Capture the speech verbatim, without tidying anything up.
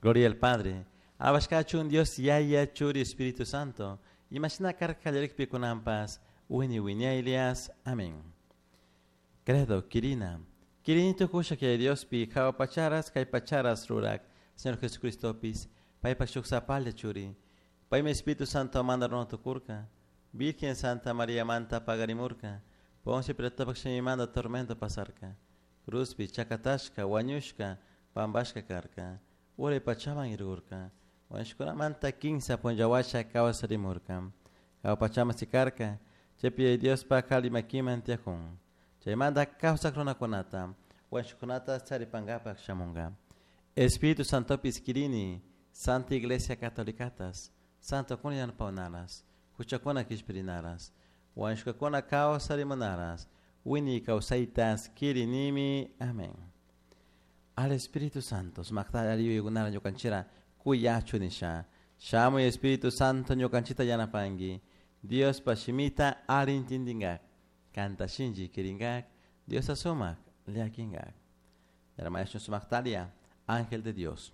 Gloria al Padre. Alabashkachun Dios Yaya Churi Espíritu Santo. Imashina karka kallarikpi kunanpas wini wiñaylias. Amén. Credo, Kirina. Kirini tukusha que Diospi jahua pacharas kay pacharas rurak. Señor Jesucristopis. Paypak shuk sapalla churi. Paymi Espíritu Santo manda runa tukurka. Virgen Santa María manta pagarimurka. Poncio Pilatopak shimimanta tormento pasarka. Cruzpi chakatashka, wañushka, pampashka karka. Uray pachaman irkurka. Wañushkunamanta kinsa punlla washa kawsarimurka. Jahua pachaman sikarka. Chaypi Diospak alli makiman tiyakun. Chaymanta kawsak runakunata, wañushkunata charipankapak shamunka. Espíritu Santopis kirini, Santa Iglesia Catolicatas, Santokuna yanapawnaras, huchakuna kishpirinaras, wañushkakuna kawsarimunaras, wini kawsaytas kirinimi. Amén. Al Espíritu Santo, sumakta alli yuyaykunara ñukanchira kuyachu nisha. Shamuy Espíritu Santo ñukanchita yanapanki. Diospa shimita alli intindinkak. Kanta shinchi kirinkak. Diosta sumak llakinkak. Yaramayasun sumaktalia, ángel de Dios.